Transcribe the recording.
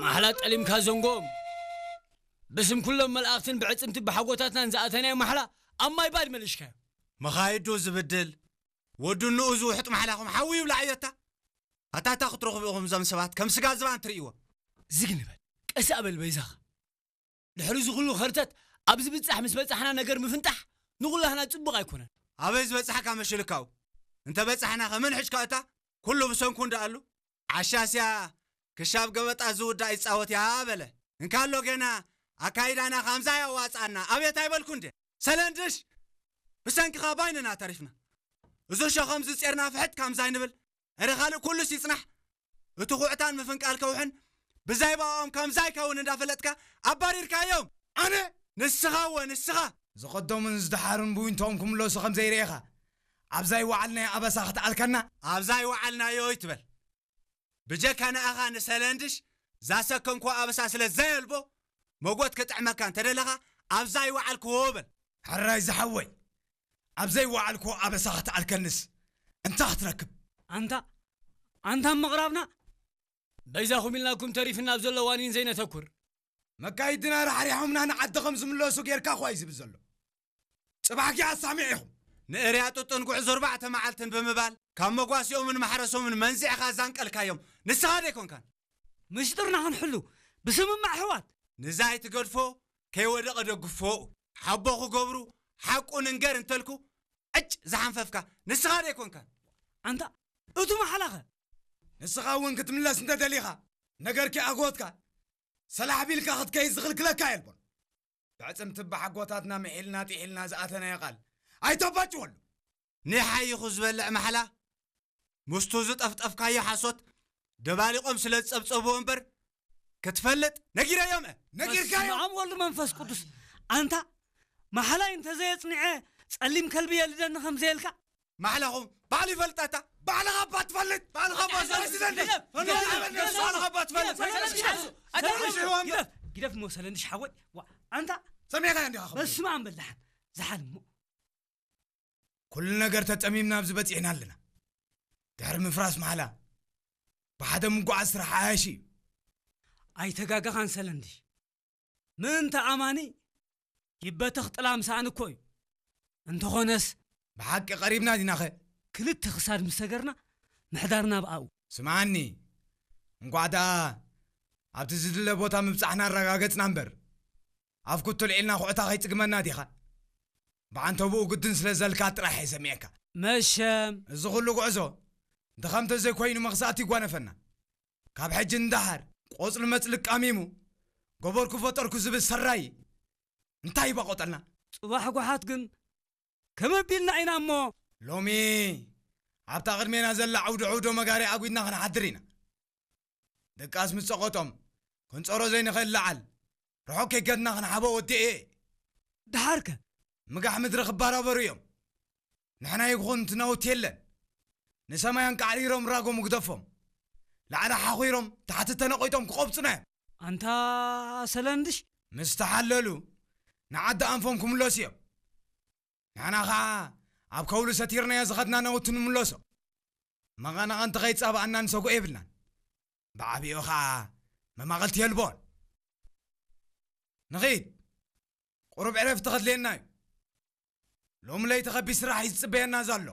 ማሕላ ጠሊምካ ዘንጎም። ብስም ኩሎም መላእኽትን ብዕጽምቲ ብሓጎታትናን ዝኣተናዮ ማሕላ ኣብ ማይ ባድ መሊሽካዮ። መኻይዱ ዝብድል፣ ወዱ ንኡ ዝውሕጥ ማሕላኹም ሓዊ ይብላዕ እዮታ። ኣታ እታ ክትረኽቡ ኢኹም እዞም ሰባት ከም ስጋ ዝባን ትርእይዎ። ዝግ ንበል፣ ቀስ ኣበል በይዛኻ። ድሕሪ እዚ ኩሉ ኸርተት ኣብ ዝብጻሕ ምስ በጻሕና ነገር ምፍንጣሕ ንኹላህና ጽቡቕ ኣይኮነን። ኣበይ ዝበጻሕካ መሽልካው? እንተ በጻሕና ከመን ሕጅካ እታ ኩሉ ብሰንኩ እንዳኣሉ ዓሻስያ ክሻብ ገበጣ ዝውዳእ ይጻወት እያ በለ። እንካሎ ገና ኣካይዳና ካምዛ ያዋጻና ኣቤት ኣይበልኩ እንዴ? ሰለንድሽ ብሰንክኻ ባይንና ተሪፍና። እዚ ሸኸም ዝጼርና ፍሕጥ ካምዛ ይንብል። እረ ካልእ ኩሉስ ይጽናሕ። እቲ ኩዕታን ምፍንቃል ከውሕን ብዛይ ባኦም ከምዛ ይከውን እንዳፈለጥካ ኣባሪርካዮም። ኣነ ንስኻ እወ ንስኻ። ዝቐደሙን ዝደሓሩን ብዊንቶኦም ክምለሱ ከም ዘይርኤኻ ኣብዛ ይወዓልናዮ ኣበሳ ክትኣልከና። ኣብዛ ይወዓልናዮ ይትበል። ብጀካ ንኣኻ ንሰለንድሽ ዛሰከምኮ ኣበሳ ስለ ዘየልቦ መጎት ክጥዕመካ እንተደለኻ ኣብዛ ይወዓልክዎ በል። ሕራይ ዝሓወይ፣ ኣብ ዘይወዓልክዎ ኣበሳ ክትኣልከንስ እንታይ ክትረክብ? ኣንታ ኣንታ ምቕራብና በይዛኹም ኢልናኩም ተሪፍና ኣብ ዘሎ ዋኒን ዘይነተኩር። መካይድና ራሕሪሖምና ንዓዲ ከም ዝምለሱ ጌርካ እኳ እዩ ዝብል ዘሎ። ጽባሕ ኪ ኣሳሚዕ ኢኹም። ንእርያ ጥጡን ጉዕዞ ኣርባዕተ መዓልትን ብምባል ካብ መጓሲኦምን ማሕረሶምን መንዚዕኻ ዛንቀልካዮም ንስኻ ደይኮንካን። ምሽጥርና ክንሕሉ ብስምማዕ ኣሕዋት። ንዛይ ትገድፎ ከይወደቐ ደግፎ። ሓቦ ክገብሩ ሓቁ ንንገር እንተልኩ ዕጭ ዝሓንፈፍካ ንስኻ ደይኮንካን። ኣንታ እቱ ማሕላኸ? ንስኻ እውን ክትምለስ እንተደሊኻ ነገርኪ ኣጎትካ ሰላሕ ቢልካ ክትከይድ ዝኽልክለካ የልቦን። ብዕጽምቲ ብሓጎታትና ምሒልና ጢሒልና ዝኣተናዮ ቃል ኣይተባጭወሉ። ንሓይኹ ዝበልዕ ማሕላ ምስቱ ዝጠፍጠፍካዮ ሓሶት ደባሊቖም ስለ ዝጸብጸብዎ እምበር ክትፈልጥ ነጊረዮም እየ። ነጊርካዮ? በስመ ኣብ ወልድ መንፈስ ቅዱስ። ኣንታ ማሕላይ እንተዘየጽኒዐ ጸሊም ከልቢ የልደኒ ከም ዘየልካ። ማሕላኹም ባዕሉ ይፈልጣታ። ባዕልኻ እባ ትፈልጥ። ባዕልኻ እባ ትፈልጥ። ግደፍ፣ ግደፍ፣ ግደፍ፣ ባዕልኻ እባ ትፈልጥ። ግደፍ፣ ግደፍ፣ ግደፍ፣ ግደፍ፣ ግደፍ፣ ግደፍ፣ መሰለ እንድሽ ሓወይ። ዋ፣ ኣንታ ሰሚዕካዮ እንዲኻ ኸም በስመ ኣብ በል ደሓን። ዝሓል እሞ። ኩሉ ነገር ተጸሚምና ኣብዚ በጺሕና ኣለና። ድሕሪ ምፍራስ ማሕላ ብሓደ ምጓዓዝ ስራሕ ዓያሺ እዩ። ኣይተጋገኻን ሰለንድሽ። ምእንቲ ኣማኒ ይበተኽ ጥላም ሰኣን እኮ እዩ። እንተኾነስ ብሓቂ ቀሪብና ዲናኸ? ክልተ ክሳድ ምስ ሰገርና ምሕዳርና ብኣኡ። ስምዓኒ፣ እንቋዕ ደኣ ኣብቲ ዝድለ ቦታ ምብጻሕና ኣረጋገጽና እምበር፣ ኣፍ ኩትል ዒልና ኩዕታ ከይጽግመና ዲኻ? ብዓንተብኡ ግድን ስለ ዘልካ ጥራሕ እየ ሰሚዐካ። መሸም። እዚ ኹሉ ጉዕዞ ድኻም ተዘይኮይኑ መኽሳእቲ ይጓነፈና። ካብ ሕጂ ንደሓር ቆጽሊ መጽሊ ቃሚሙ ገበርኩ ፈጠርኩ ዝብል ሰራይ እንታይ ይባቆጠልና? ጽባሕ ጓሓት ግን ከመ ቢልና ኢና እሞ። ሎሚ ኣብታ ቅድሜና ዘላ ዓውዲ ዕውዶ መጋሪ ኣጒድና ክንሓድር ኢና። ድቃስ ምስ ጸቐጦም ክንጸሮ ዘይንኽእል ለዓል ርሑቕ ከይከድና ክንሓቦ ወዲኤ። ደሓርከ? ምጋሕ ምድሪ ክባራበሩ እዮም። ንሕና ይኹን እቲ ናውቲ የለን። ንሰማይ ኣንቃዕሪሮም ራጎም ግደፎም። ላዕሊ ሓኺሮም ታሕቲ ተነቒጦም ክቖብጹና እዮም። ኣንታ ሰለንድሽ። ምስ ተሓለሉ ንዓዲ ኣንፎም ክምለሱ እዮም። ንሕና ኸዓ ኣብ ከውሊ ሰቲርናዮ ዝኸድና ናውቲ ንምለሶ። መቐናቐንቲ ከይጻባኣና ንሰጉኦ የብልናን። ብዓቢኡ ኸዓ መማቕልቲ የልቦን። ንኺድ፣ ቁሩብ ዕረፍቲ ከድልየና እዩ። ሎሚ ለይቲ ኸቢድ ስራሕ እዩ ዝጽበየና ዘሎ።